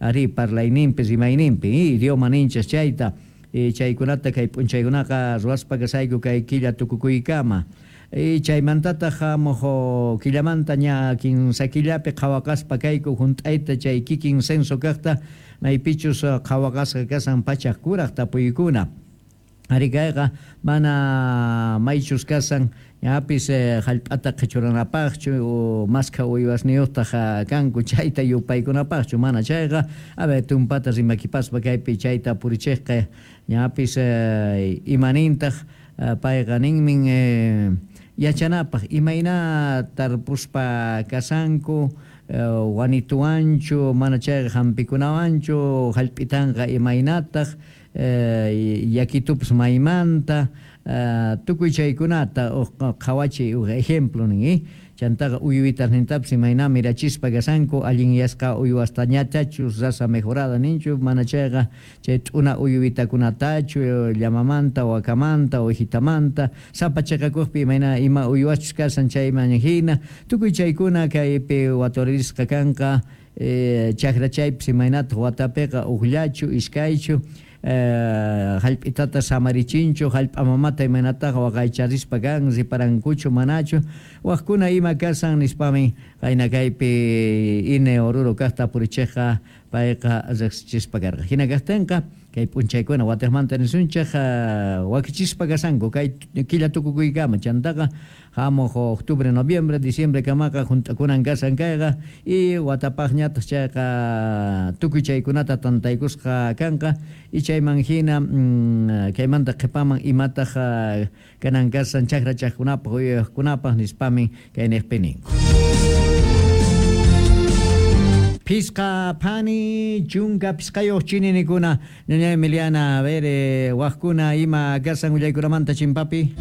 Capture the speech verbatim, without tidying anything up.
ari parlayninpi rimayninpi idioma ninchis chayta chaykunata kay p'unchaykunaqa ruwaspa kasayku kay killa tukukuykama chaymantataq hamuq killamanta ña kinsa killapi qhawaqaspa kayku hunt'ayta chay kikin censo kaqta maypichus qhawaqasqa kasan pachak kuraq tapuykuna ari kayqa mana maychus kasan ñapis hallp'ata qhichuranapaqchu maskha uywasniyuqtaq kanku chayta yupaykunapaqchu mana chayqa a ver tumpata rimakipaspa kaypi chayta purichiqqa ñapis imanintaq payqa ninmin yachanapaq imayna tarpuspa kasanku wanituwanchu mana chayqa hampikunawanchu hallp'itanqa imaynataq yakitupas maymanta tukuy chaykunata qhawachiy uj ejemplo nin chantaqa uywitasnintapis imayna mirachispa kasanku allinyasqa uywastañatachu raza mejorada ninchu mana chayqa chay t'una uywitakunatachu llamamanta wakamanta uwijitamanta sapa chiqakuqpi imayna ima uywaschus kasan chayman hina tukuy chaykuna kaypi waturisqa kanqa chakra chaypis imaynataq watapiqa ujllachu iskaychu hallp'itata samarichinchu hallp'a mamata imaynataqa waqaycharispa kan riparankuchu manachu waqkuna ima kasan nispamin qayna kaypi I N E Oruro kaqta purichiqqa payqa riqsichispa karqa hina kaqtinqa kay p'unchaykuna watiqmanta nisunchik wakichispa kasanku kay killa tukukuykama chantaqa hamuq octubre, noviembre, diciembre kamaqa hunt'akunan kasan kayqa y watapaqñataq chayqa tukuy chaykunata tantaykusqa kanqa y chayman hina kaymanta qhipaman imataq kanan kasan chakra chaqkunapaq uywaqkunapaq nispamin kay niqpi ninku. Pisqa phani chunka pisqayuq chininikuna ñaña Emiliana a ver eh, waqkuna ima kasan willaykunamanta chimpapi.